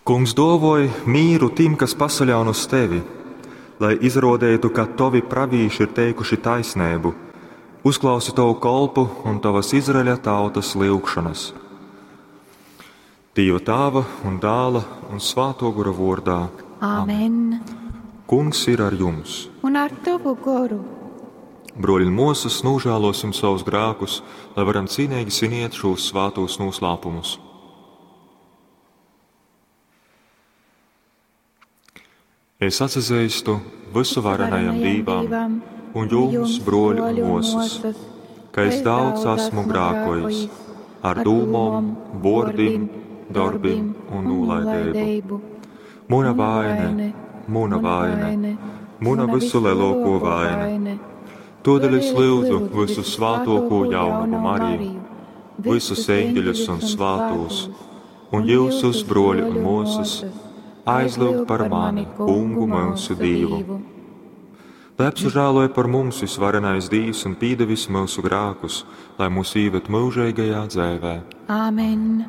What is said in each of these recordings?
Kungs dōvoj mīru tim, kas pasaļaun uz tevi, lai izrōdeitu, ka tovi pravīši ir teikuši taisneibu. Uzklausi tovu kolpu un tovas Izraeļa tautas lyugšonas. Dīva Tāva un Dāla un Svātō Gora vōrdā. Amen. Kungs ir ar jums. Un ar tovu goru. Bruoļi un muosys, nožēlosim savus grēkus, lai varam cīnīgi sviniet šos svātos noslēpumus. Es atzīstu visuvarenajam Dīvam un jums, bruoļi un muosys, ka es daudz esmu grēkojis ar dūmom, vuordim, darbim un nūlaideibu. Muna vaine, muna vaine, muna visu lielāko vaina. Todēļ es lūdzu visu svātoko jaunavu Mariju, visus eņģeļus un svātos, un jūsus, bruoļi un muosas, aizlūgt par mani, Kungu mūsu Dievu. Lai apsažēloja par mums visvarenais Dievs un pīdevis mūsu grēkus, lai mūs īved mūžīgajā dzēvē. Āmen.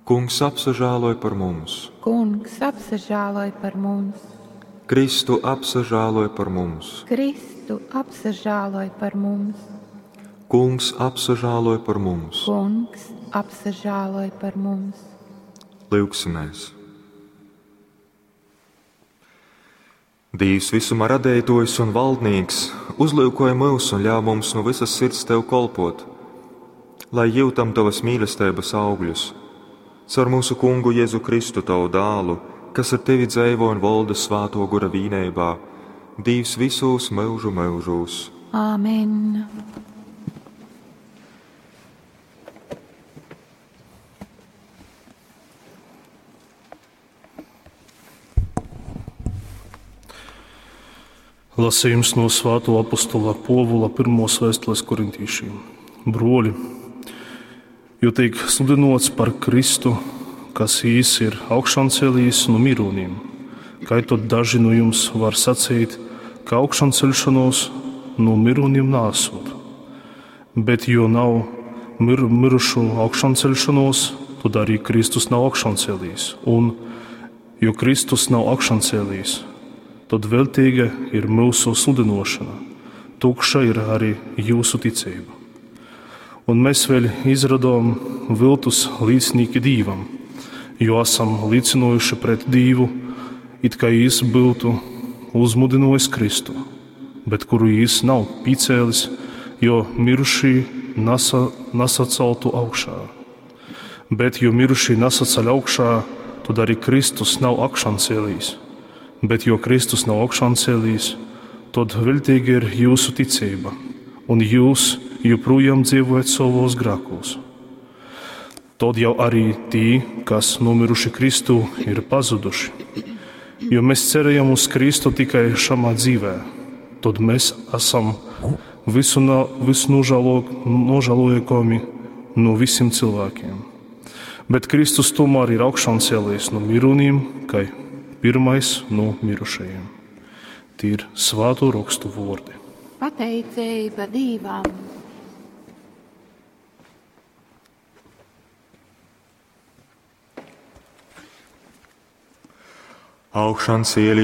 Kungs apsažēloja par mums. Kungs apsažēloj par mums. Kristu apsažēloja par mums. Kristu apsažēloj par mums. Kungs apsažēloja par mums. Kungs apsažēloj par mums. Lūgsimies! Dievs visuma radētojs un valdnieks, uzlūkoja mūs un ļauj mums no visas sirds tev kolpot, lai jūtam tavas mīlestības augļus. Caur mūsu kungu Jēzu Kristu, tavu dālu, kas ar tevi dzeivo un valda svāto gura vīnībā, Dievs visos mūžu mūžos. Āmen. Lasījums no Svāto apostula Povula pirmos vēstules korintīšiem. Broļi, jo tiek sludinots par Kristu, kas īs ir augšancēlījis no miruņiem, kā tad daži no jums var sacīt, ka augšanceļšanos no miruņiem nāsot. Bet jo nav mirušu augšanceļšanos, tad arī Kristus nav augšancēlījis. Un, jo Kristus nav augšancēlījis, tad veltīga ir mūsu sludinošana, tukša ir arī jūsu ticība. Un mēs vēl izradām viltus līdznīki Dīvam, jo esam liecinojuši pret Dīvu, it kā jis būtu uzmudinojis Kristu, bet kuru jis nav pīcēlis, jo mirušī nesaceltu augšā. Bet, jo mirušī nesaceļ augšā, tad arī Kristus nav augšancēlījis. Bet, jo Kristus nav augšancēlījis, tad veltīga ir jūsu ticība, un jūs joprojām dzīvojat savos grēkos. Tad jau arī tī, kas nomiruši Kristū, ir pazuduši. Jo mēs cerējam uz Kristu tikai šamā dzīvē, tad mēs esam visnožēlojami no visiem cilvēkiem. Bet Kristus tomēr ir augšancēlies no miruņiem, kā pirmais no mirušajiem. Tie ir svāto rakstu vārdi. Pateicība Dievam! Augšancēlī